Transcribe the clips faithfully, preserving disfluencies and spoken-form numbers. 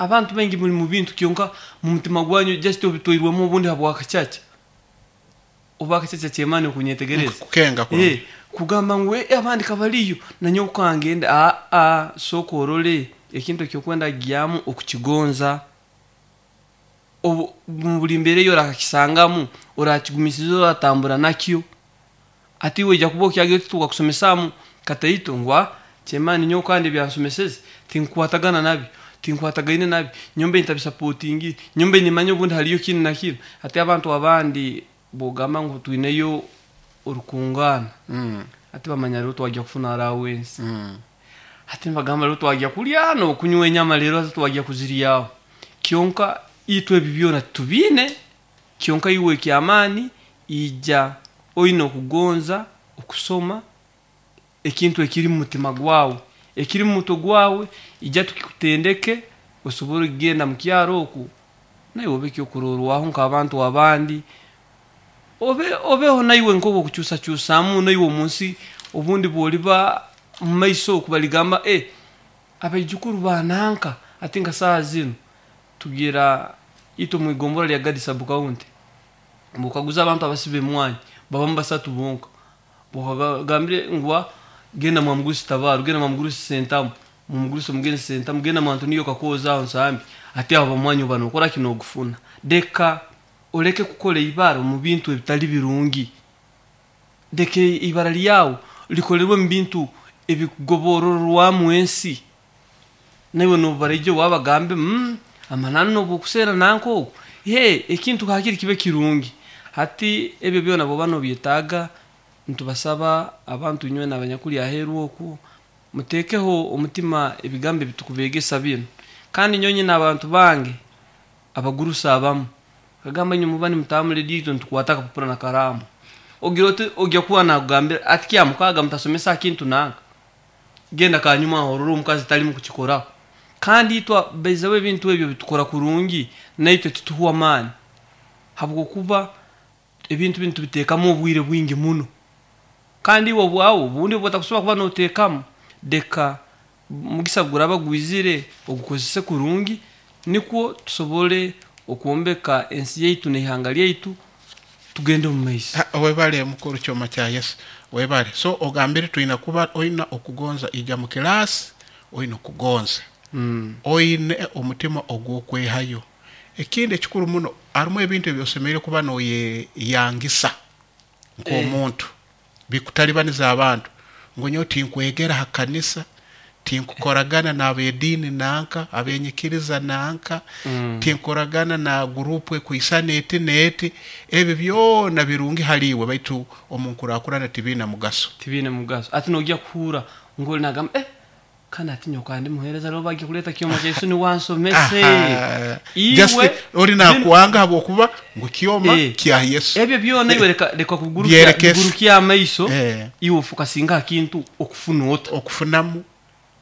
Abantu baingi muli mu bintu, kyonka mu mutima gwanyu just obitwairwemu obundi habwakacaca, oba akacaca kyemani okunyetegereza. Kukenga kurungi. Eh, kugamba ngu "Eh, abandi kabaliyo nanyowe kangenda." Aa, sooka orole ekintu ekyokwenda gyamu okukigonza. Obu mu buli mbeera eyo orakakisangamu, orakigumisiza, oratambura nakyo. Ati iwe ojja kuba okyagira oti tukakusomesaamu kataito ngu "Ah, kyemani nyowe kandi ebyansomeseze tinkukwatagana nabyo, tinkwatagaine nabyo, nyombe ntabisapotingire, nyombe nimanya obundi haliyo kinu na kinu." Ati abantu abandi bwogamba ngu twineyo orukungaana, Mm. ati bamanya rero twajya kufuna allowance. Mm. Ati nibagamba rero twajya kulya nokunywa enyama, rero ati twajya kuziryaho. Kyonka itwe ebi byona tubiine. Kyonka iwe ekyamaani ija oine okugonza okusoma ekintu ekiri mu mutima gwawe, ekiri mu mutwe gwawe, ija tukikutendeke osobole kugenda mu kyaro oku naiwe obe ekyokurorwaho nk'abantu abandi, obe obeho naiwe nkobo okukyusakyusamu naiwe omunsi. Obundi bwoliba mu maiso oku baligamba, "Eh, abaijukuru bananka." Ati nka saaha zinu tugira itwe mwigombora lya Gadi sub county, bwokaguza abantu abasiba emwanyi babamu basatu bonka. Bwokagambire ngu "Ah, genda mwamugurusi Tabaru, genda mwamugurusi Sentamu, mumugurusi omugenzi Sentamu, genda mwantoniyo Kakooza aho Nsambi," ati abo bamwanyi oba nokora kino ogufuna. Deka oleke kukora ibara omu bintu ebitali birungi, deka ibara lyawe likolerwe mu bintu ebikugobororwamu ensi, naiwe nobaraije wabagambe, mm, amananu nobukusera nanka ogu he ekintu hakiri kibe kirungi. Hati ebyo byona bwoba nobyetaaga, ntubasaba abantu inywe n'abanyakuli aheeru oku muteekeho omutima ebigambo ebitukubegesa binu. Kandi nyowe nyine abantu bange abagurusi abamu kagamba, "Inywe muba nimutambura ediito, nitukwata akapapura na karamu." Ogira oti ojya kuba nakugambira ati kya mukaaga mutasomesa kintu nanka, genda kanyuma aho orore omukazi talimu kukikoraho. Kandi itwe baizaho ebintu ebyo bitukora kurungi, naitwe tituhwa amaani habwokuba ebintu binu tubiteekamu obwire bwingi muno. Kandi iwe obwawe obundi obutakusobola kuba noteekamu, deka mugisa guraba gwizire ogukozese kurungi, nikwo tusobole okwombeka ensi yaitu n'ihanga lyaitu, tugende omu maiso. Ha, webale mukuru Kyoma kya Yesu, webale. So ogambire twina kuba oina okugonza ija mu kilasi, oina okugonza, mm. oine omutima ogw'okwehayo. Ekindi ekikuru muno, harimu ebintu ebyosemereire kuba noyeyangisa nk'omuntu bikutalibaniza abantu, ngu nyowe tinkwegera ha kanisa, tinkukoragana n'ab'ediini nanka, abenyikiriza nanka, Mm. tinkoragana na gurupu ekwisana eti n'eti. Ebi byona birungi haliiwe, baitu omu nkurakurana tibiina mugaso. Tibiine mugaso. Ati nojya kuhura ngoli nagamba, "Eh, kandi ati nyoka ndi muheereza, rero bagiye kuleta Kyoma kya Yesu niwansomese." Aha. Just Iwe ori nakwanga habwokuba ngu Kyoma Eh. kya Yesu. Ebyo byona iwe leka leka kugurukya Byerekese. bigurukya amaiso. Eh. Iwe ofokasinga ha kintu okufuna ota. Okufunamu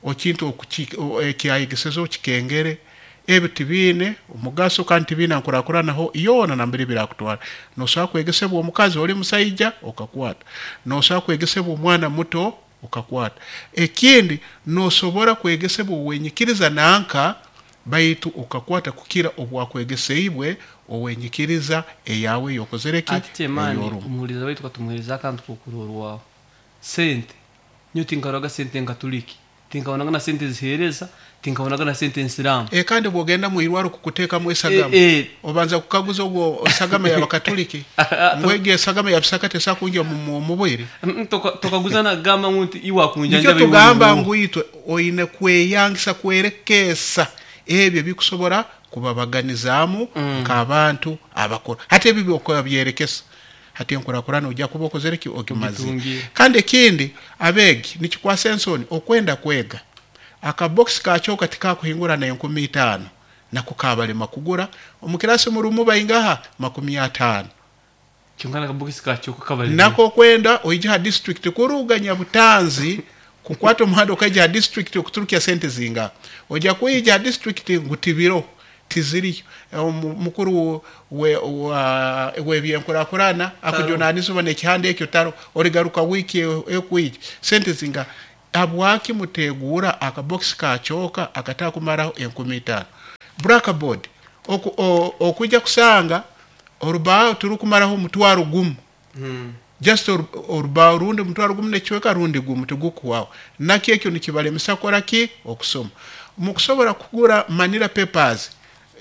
okintu okuki- o- ekyayegeseze okikengere. Ebi tibiine omugaso kandi tibiine nkurakuranaho yoona nambere birakutwara. Nosobola kwegesebwa omukazi oli musaija okakwata, nosobola kwegesebwa omwana muto okakwata. Ekindi, nosobora kwegesebwa owenyikiriza nanka, baitu okakwata kukira obwakwegeseibwe owenyikiriza eyawe eyokozere ki. Ati kyemaani, eyorumu. Omuhuriza waitu katumuhereza akantu kokurorwaho. Sente nyo tinkaroraga sente nkatuliki, tinkabonaga na sente zihereza, tinkabonaga na sente nsiramu. E, kandi bwogenda mwirwaro kukuteekamu esagama, Eh, eh. obanza kukaguza ogwo esagama y'abakatuliki ngwege esagama ya bisaka tesa kunja mu mu- mubwire. Mm, toka- tokaguza nagamba ngu nti iwe akunjanja. Nikyo tugamba ngu itwe oine kweyangisa, kwerekesa ebyo bikusobora kubabaganizaamu Mm. nk'abantu abakuru. Hati ebi byokuba byerekesa, hati enkurakurana ojja kuba okozere ki, ogimazire. Ogitungiire. Kandi ekindi, abeegi nikikwasa ensoni okwenda kwega akabokisi kakyoka tikakuhingura na enkumi itaano, nako kabalema kugura. Omu kirasi murumu baingaha? Makumi ataano. Kyonka nakabokisi kakyoka kabali. Nako kwenda oija ha district kuruga Nyabutanzi, kukwata omuhanda okaija ha district okuturukya sente zinga. Ojja kwija ha district ngu tibiro tiziriyo. Omu- mukuru we- wa- w'ebyenkurakurana akujunanizibwa n'ekihanda ekyo taro, origaruka wiiki ekwija. Sente zinga? Habwaki muteguura akabokisi kakyoka akatakumaraho enkumi itaano? Blackboard oku, o, okujja kusanga orubaaho turukumaraho omutwaro gumu. Mm. Just oru- orubaaho rundi omutwaro gumu n'ekicweka rundi gumu tigukuhwaho. Nakyo ekyo nikibalemesa kukora ki? Okusoma. Mukusobora kugura manila papers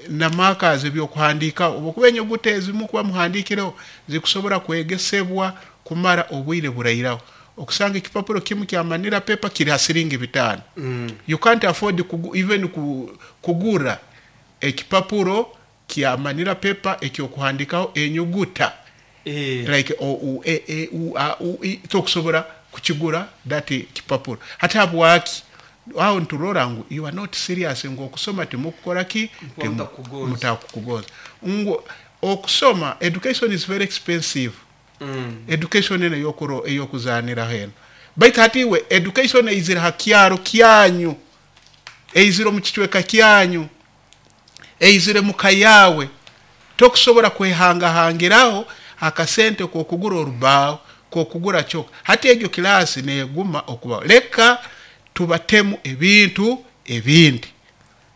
na markers ebyokuhandiikaho, obwokuba enyuguta ezimu kuba muhandiikireho zikusobora kwegesebwa kumara obwire burairaho. Okusanga ekipapuro kimu kya manila paper kiri ha siringi bitaano. Mm. You can't afford kugu, even ku, kugura ekipapuro kya manila paper ekyokuhandikaho enyuguta Eh. like o u e e u a u i, tokusobora kukigura that kipapuro. Hati habwaki aho nturora ngu you are not serious, ngu okusoma timukukora ki? Nkuba mutakugonza. Mutakukugonza. Ngu okusoma, education is very expensive. Mm. Education eno eyokuro eyokuzaniraho eno, baitu hati iwe education eizire ha kyaro kyanyu, eizire omu kicweka kyanyu, eizire muka yawe, tokusobora kwehangahangiraho akasente kokugura orubaaho, kokugura kyoka. Hati egyo kilasi neguma okubaho. Leka tubatemu ebintu ebindi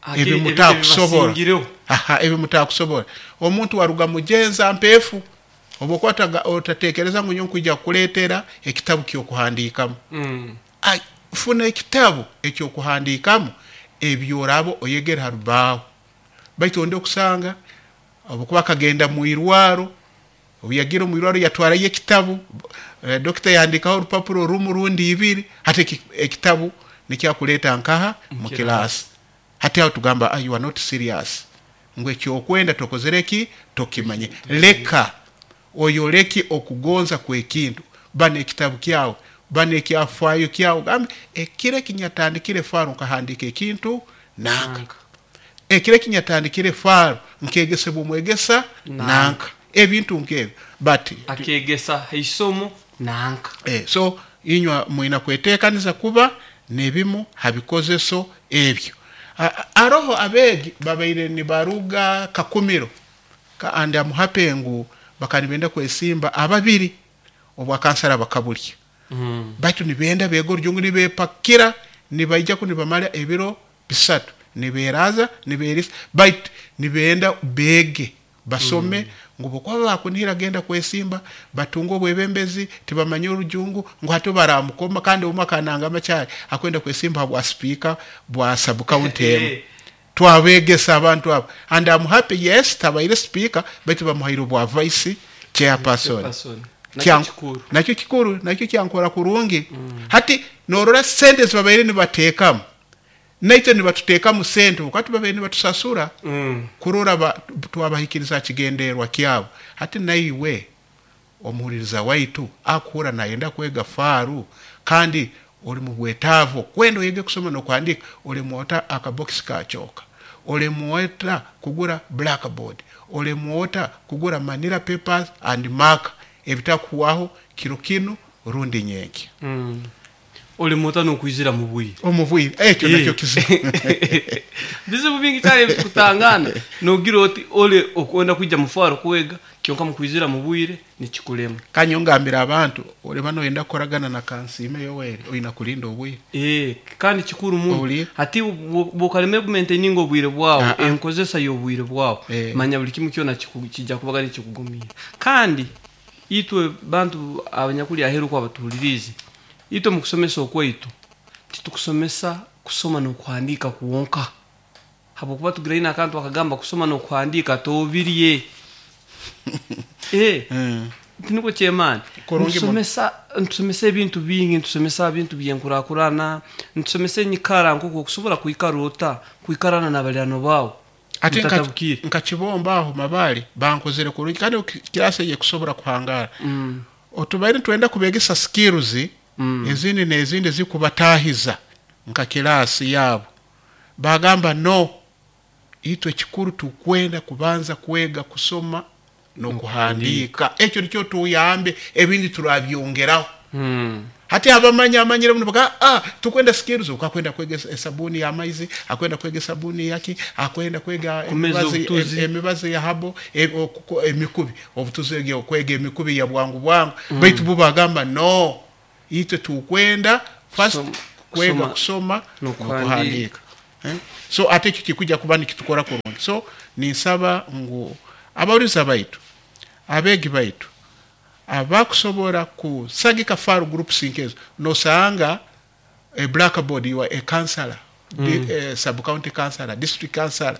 Ake- ebi mutakusobora. Ebibasingireho. Aha, ebi mutakusobora. Omuntu waruga mugenza mpefu, obwokuba otatekereza ngu nyowe nkwija kukuleetera ekitabu ky'okuhandiikamu. Mm. Ai, funa ekitabu ekyokuhandiikamu ebyoraba oyegere ha rubaaho. Baitu onde okusanga obwokuba akagenda mu irwaro, obu yagira omu irwaro yatwarayo ekitabu, eh, dokita yahandikaho orupapuro rumu rundi ibiri, hati eki- ekitabu nikyakuleeta nkaha mu kilasi. Hati aho tugamba, ah, you are not serious, ngu ekyokwenda tokozere ki? Tokimanye. Leka oyoleke okugonza kw'ekintu. Bana ekitabu kyawe, bana ekyafaayo kyawe, gambe ekiro ekinyatandikire faro nkahandika ekintu nanka, Nanka. ekiro ekinyatandikire faro nkegesebwa omwegesa Nanka. nanka, ebintu nkebyo. But akegesa haisomo nanka. Eh, so inywa mwina kwetekaniza kuba nebimu habikozeso ebyo. A- a- aroho abeegi babaire nibaruga Kakumiro ka, and I'm happy ngu bakanibenda kwesimba ababiri obwakansara bakabulya. Mm. Baitu nibenda beega orujungu, nibepakira nibaija ku nibamara ebiro bisatu niberaza niberisa, baitu nibenda beege basome, ngu bokuba bakunihira genda kwesimba batunga obwebembezi tibamanye orujungu, ngu hati baramukoma. Kandi omwe akananga amakyari akwenda kwesimba bwa speaker bwa sub county emu. Eh. Twabegesa abantu abo, and I'm happy, yes, tabaire speaker, baitu bamuhaire obwa vice chairperson. Chairperson. Nakyo Kyan- kikuru. Nakyo kikuru, nakyo kyankora kurungi. Hati norora sente zibabaire nibateekamu, naitwe nibatuteekamu sente wakati babaire nibatusasura Mm. kurora ba, twabahikiriza kigenderwa kyabo. Hati naiwe omuhuririza waitu akuhura nayenda kwega faaru, kandi oli mu bwetaavu kwenda oyege kusoma n'okuhandiika, olemwota akabokisi ka kyoka, olemwota kugura blackboard, olemwota kugura manila papers and marker ebitakuhwaho kiro kinu rundi nyenkya. Mm. Olemwota n'okwizira mu bwire. Omu bwire ekyo Eh. nakyo kizibu. Bizibu bingi cyane bikutangana, nogira oti ole okwenda kwijja mufaro kwega, kyonka mukwizira mu bwire nikikulema. Kanyongambira abantu, oleba noyenda kukoragana na Kansiime Yoweri, oyina kulinda obwire. Eh, kandi kikuru muno. Owulire? Hati bwokaleme kumaintaininga obwire bwawe, Ah, ah. enkozesa y'obwire bwawe, Eh. manya buli kimu kyona kiku- kijja kubaga nikikugumiira. Kandi itwe bantu abanyakuli aheru kwa batuhulirize, itwe mukusomesa okwaitu titukusomesa kusoma n'okuhandiika kwonka, habwokuba tugira ina akantu akagamba kusoma n'okuhandiika tobirye. Eh, Mm. tiniko kyemaani. Kurungi muno. Ntusomesa, ntusomesa ebintu bingi, ntusomesa ebintu byenkurakurana, ntusomesa enyikara nk'oku okusobola kwikara ota kwikarana n'abalirano baawe Ate nka- mutatabukire. Nkakibomba aho mabali bankozere kurungi, kandi kirasi eye kusobora kuhangara. Mm. Otubaire nitwenda kubegesa skills Mm. ezindi n'ezindi zikubatahiza nka kirasi yabo, bagamba no, itwe kikuru tukwenda kubanza kwega kusoma n'okuhandiika, ekyo nikyo tuyambe, ebindi turabyongeraho. Mm. Hati abamanya amanyire muno baka, ah, tukwenda skills, ukakwenda kwega esabuni ya maizi, akwenda kwega esabuni yaki, akwenda kwega Kumeza emibazi, obutuzi. em- emibazi ya habo, e, okuko- emikubi obutuzi egyo, kwega emikubi ya bwangu bwangu. Baitu bo bagamba no, itwe tukwenda first Kusoma- kwega kusoma kusoma n'okuhandiika. n'okuhandiika. Eh? So ate ekyo kikujja kuba nikitukora kurungi. So ninsaba ngu abawuriza baitu, abeegi baitu abakusobora kusagika faru groups nkezo, nosanga a blackboard, you are a councillor, mm. di, eh, sub county councillor, district councillor,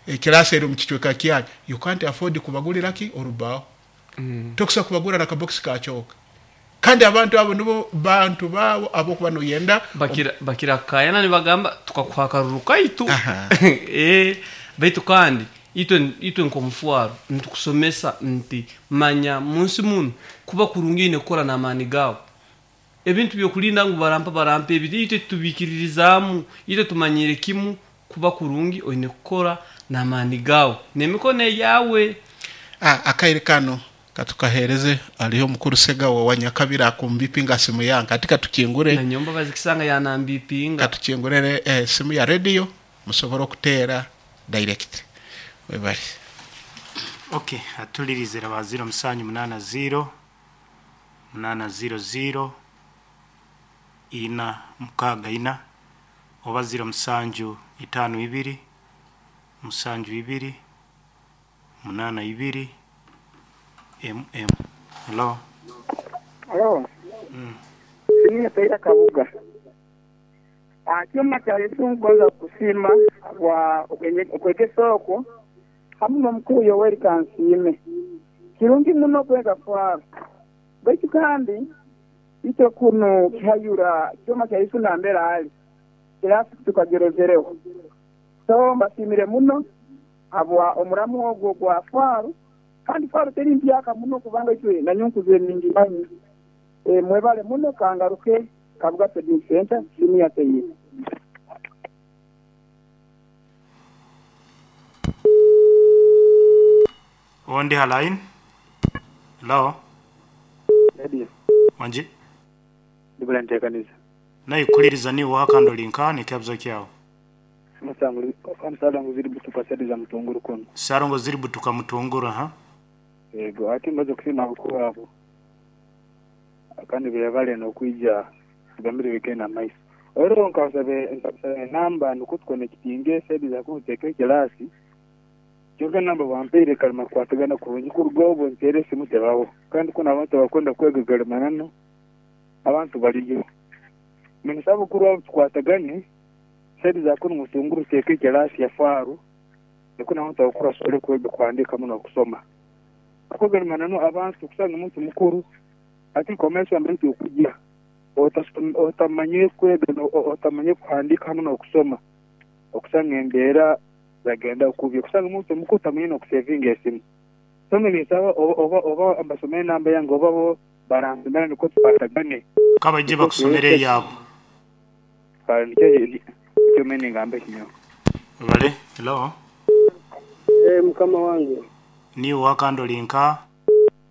ekirasi eri omu kicweka kyanyu, you can't afford kubagulira ki orubaho. Mm. Tokusobola kubagura na kabokisi ka kyoka, kandi abantu abo nibo bantu babo abokuba noyenda bakira bakira kayana nibagamba tukakuha akaruru kaitu. Eh, baitu kandi itwe itwe nkomufuaro nitukusomesa nti manya munsi muno kuba kurungi ine kukora n'amaani gawe. Ebintu byokulinda ngu barampa barampa ebi itwe tubikiririzamu, itwe tumanyire kimu kuba kurungi oine kukora n'amaani gawe n'emikono yawe. Ah, akaire kano katukahereze aliho mukuru Segawa wa Nyakabira akumbipinga simu yange katika tukingure na nyomba bazikisanga yanambipinga katukingurere eh, simu ya radio musobora okutera direct webali. Okay, atulirize ba zero musanju munana zero munana zero zero ina mukaga ina oba zero musanju itano ibiri musanju ibiri munana ibiri M M. Hello. Hello. Mm. Sini Peter Kabuga. Ah, kyoma kya Yesu ngonza kusima kwa okwegesa okwo hamu n'omukuru Yoweri Kansiime. Kirungi muno kwega kwabo. Baitu kandi itwe kuno kihayura kyoma kya Yesu nambera ali. Kirasi tukagerezereho. So mbasimire muno abwa omuramu ogwo gwa faru. Kandi faru teri mpyaka muno kubanga itwe nanyonkuze mingi manyi. E, mwebale muno kangaruke Kabuga Trading Center simu ya teyi. Ondi halain. Hello. Ready. Wanji. Ndibula ntekanisa. Nayi kuliriza ni wakando linka ni kabzo kyao. Musangu kamusala ziri butuka sedi za mutunguru kono. Sarongo ziri butuka mutunguru ha. Yego ati mbazo kusima bukuru abo. Kandi birabale no kuija tugambire wikena maiso. Ero nkasabe nkasabe namba nukutko kitinge sedi za kuteka kilasi. Kyonka namba wampere kalima kwatagana kurungi kurugobo ntere simu tebawo. Kandi kuna abantu bakwenda kwega galimanano abantu baliyo. Minisaba kuru abo tukwatagane sedi za kuno mutunguru teke kilasi ya faru. Nikuna abantu bakura sole kwega kuandika muno kusoma. Kuko galimanano abantu kusanga umuntu mukuru ati komesa mbere okujja otamanye kwega otamanye kuandika hamwe no kusoma okusanga embeera zagenda okubye kusanga umuntu mukuru tamanye no kusevinga esimu some nisaba oba oba ambasomere namba yange oba bo baranzimera niko tubatagane kabaje bakusomere yabo kandi cyo mene ngambe kinyo bale. Hello. Eh, mukama wange ni wakando linka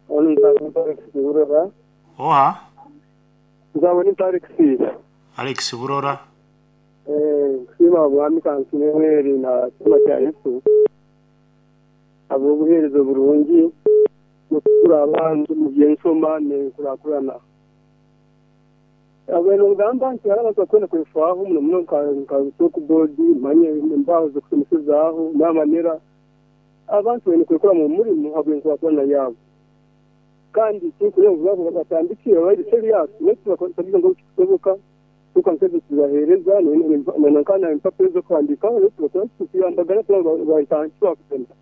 onu nzabona oha nzabona Alex Alex Burora eh kusima mwami Kansiime na chama kya Yesu abo buherezo burungi mukura abantu mu byensoma ne kurakurana abeno ngamba nti araba kwenda kwefaho muno muno nka nka board manye imbaho zo kusomesezaho n'amanera abantu bene kwekora mu murimo habwe nkurakurana yabo kandi kikuye ngo batandikira bari serious next bakoze ngo kisoboka tukanseze tubahereza nankana impapuro zo kwandika tukiyambagana bayitankiwa kugenda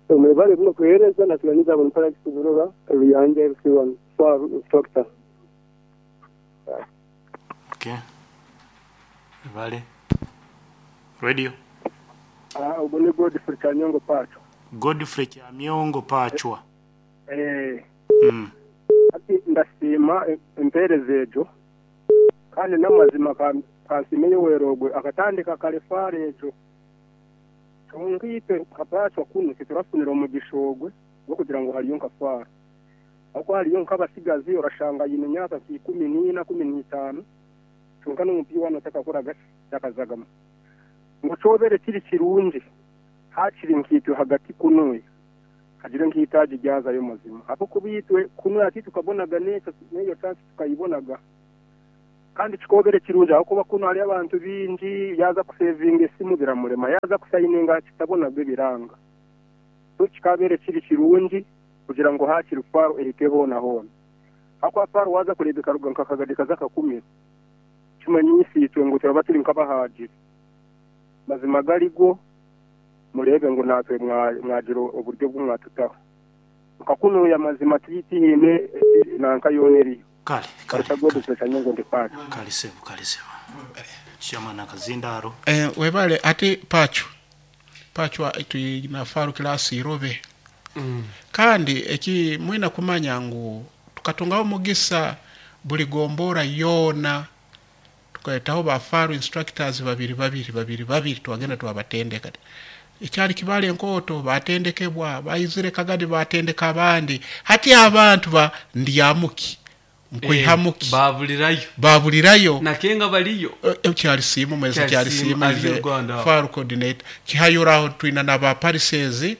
umubare buno kuhereza natuganiza abantu para kugurura ruyange F one for instructor. Okay. Vale. Radio. Ah, ubone Godfrey Kanyongo Pachwa. Godfrey Kanyongo Pachwa. Eh. Mm. Ati ndasima empereze ejo kandi namazima kansimenye werogwe akatandika kalefare ejo tungite kapachwa kuno kiturafunira omugishogwe gwo kugira ngo haliyo nkafara ako haliyo nkabasigazi orashanga yine myaka ikumi n'ina kumi n'itanu tunka n'umupira wano takakora gasi takazagama ngo cobere kiri kirungi hakiri nkitwe hagati kunuye hagire nkitaje ryaza yo mazima apo kubitwe kunuye ati tukabonaga n'eyo n'eyo chance tukayibonaga Kandi kikobere kirungi aho kuno hari abantu bingi yaza kusevinga esimu biramurema yaza kusayininga kitabo nabyo biranga. So kikabere kiri kirungi kugira ngo hakiri faro ehike hona hona. Akwa faro waza kurebeka ruga nkakagadi kazaka kumi. Kimanyisi itwe ngo turaba turi nk'abahagiri. Mazima garigo murebe ngo natwe mwagiro oburyo bw'umwatutaho. Nkakuno ya mazima titihine nanka yoneri. Kale kale. Kale sebo kale sebo. Chairman akazindaro. Eh webale ati pacho. Pacho tuyina faro class irobe. Mm. Kandi eki mwina kumanya ngu tukatungaho mugisa buli gombora yona tukaetaho ba faro instructors babiri babiri babiri babiri twagenda twabatendeka. Ekyali kibale enkoto batendekebwa bayizire Kagadi batendeka abandi hati abantu ba ndyamuki nkuihamuki e, babulirayo babulirayo nakenga baliyo ekyali simu mwezi kyali simu faro coordinator kihayoraho twina naba parisezi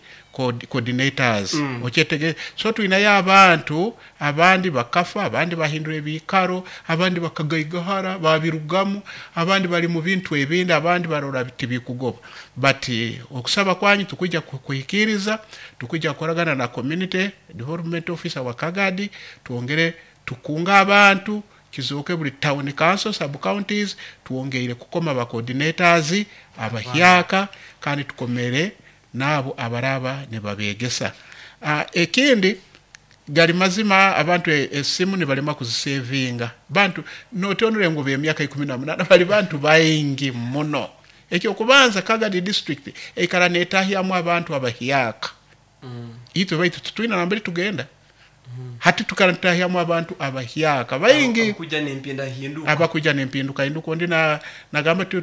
coordinators mm. Ochetege so twina ya abantu abandi bakafa abandi bahindura ebikaro abandi bakagaigahara babirugamu abandi bali mu bintu ebindi abandi barora bitibikugoba but okusaba kwanyu tukujja kuhikiriza tukujja koragana na community development officer wa Kagadi tuongere tukunga abantu kizoke buli town council sub counties tuongeire kukoma ba coordinators abahyaka kandi tukomere nabo abaraba ne babegesa. Uh, ekindi gali mazima abantu esimu ne balema kuzisevinga bantu notonure ngo be myaka ikumi na munana bali bantu baingi muno. Ekyo kubanza Kagadi district ekara netahyamu abantu abahyaka mm. Itwe baitu tutwina nambere tugenda mm. Hati tukarantahyamu abantu abahyaka baingi abakuja nempinda hinduka abakuja nempinduka hinduka ndi na nagamba tu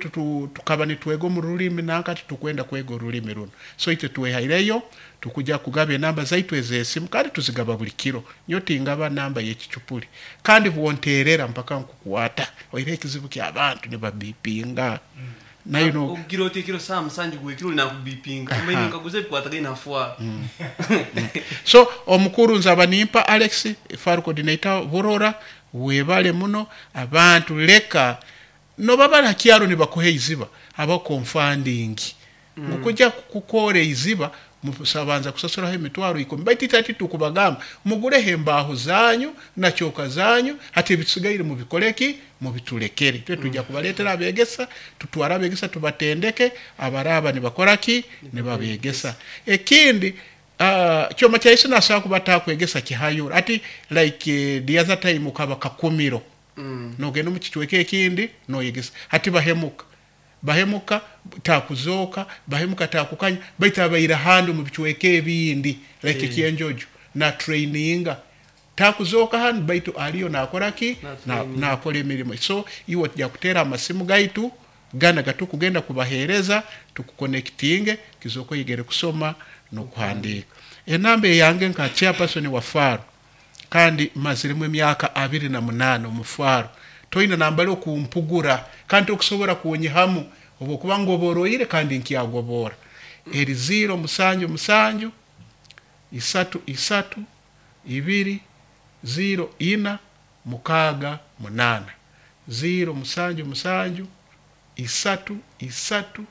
tukaba nitwego mu rulimi nankati tukwenda kwego rulimi runo so itwe twehaireyo tukuja kugaba enamba zaitu ezesimu kandi tuzigaba buli kiro nyoti ngaba namba yekichupuli kandi buonterera mpaka nkukuwata oire ekizibu kya abantu ne babipinga mm. Nayo no ogiro tekiro saa musanju gwekiro na kubipinga kumenya nkaguze bikwataga inafwa mm. So omukuru nzaba nimpa Alex faro coordinator Burora webale muno abantu leka no baba hakyaro ni bakuhe iziba aba confunding mm. Ngukujja kukore iziba musabanza kusasuraho emitwaro ikumi baiti tati tukubagamba mugure hembaho zanyu na choka zanyu hati bisigaire mu bikoleki mu bitulekere twe tujja kubaletera abegesa tutwara abegesa tubatendeke abaraba ni bakoraki ne babegesa. Ekindi uh, kyoma kya Yesu nasa kubata kwegesa kihayura ati like uh, the other time ukaba kakumiro mm. Nogenda mu kichweke ekindi noyegesa hati bahemuka bahemuka takuzoka bahemuka takukanya baita bayira handi mu bichweke ebindi like yeah. Kienjojo na traininga takuzoka handi baitu aliyo nakoraki na nakole emirimo so iwo tujya kutera amasimu gaitu gana gatu kugenda kubahereza tukuconnectinge kizoko yigere kusoma no kuhandika. Enamba yange nka chairperson wa faro kandi mazirimu emyaka abiri na munana mu faro toyina nambale okumpugura kandi okusobora kuonyihamu obokuba ngoboroire kandi nkyagobora eri zero musanju musanju isatu isatu ibiri zero ina mukaga munana zero musanju musanju isatu isatu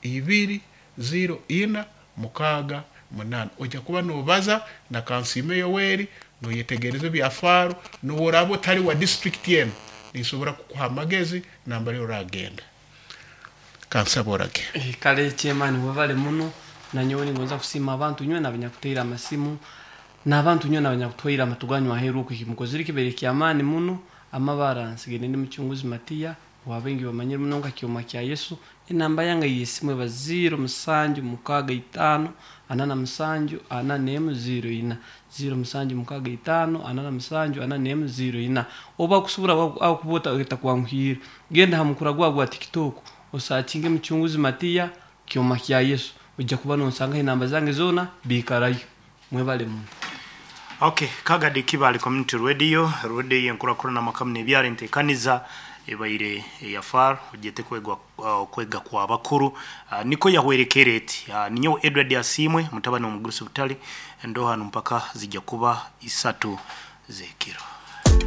ibiri zero ina mukaga munana. Ojja kuba nobaza na Kansime Yoweri noyetegereza bya faro noworabo tali wa district yenu nisobora kukuha amagezi nambale oragenda kansaborage. Eh, kale chairman wabale muno na nyowe ningonza kusima abantu nywe nabanyakutera amasimu n'abantu nywe nabanyakutwira amatuganywa aheru kukimukozire kibere kyamani muno amabara nsigende ndi muchunguzi Matia wabengi bamanyire muno nka kyoma kya Yesu. Enamba yange yesimu eba zero musanju mukaga itano anana musanju anana emu zero ina zero musanju mukaga itano anana musanju anana emu zero ina oba kusubura au kubota etakuanguhira genda hamukura gwa gwa TikTok osakinge muchunguzi Matia kyoma kya Yesu ujja kuba nonsanga enamba zange zona bikarayo mwebale muno. Okay, Kagadi Kibale Community Radio, radio yenkurakura na makamne byare ntekaniza ebaire yafar ujete kwegwa uh, kwega kwa bakuru uh, niko yahwerekereti uh, ninyo Edward Asimwe mutabani omugurusi butali ndoha mpaka zijja kuba isatu zekiro.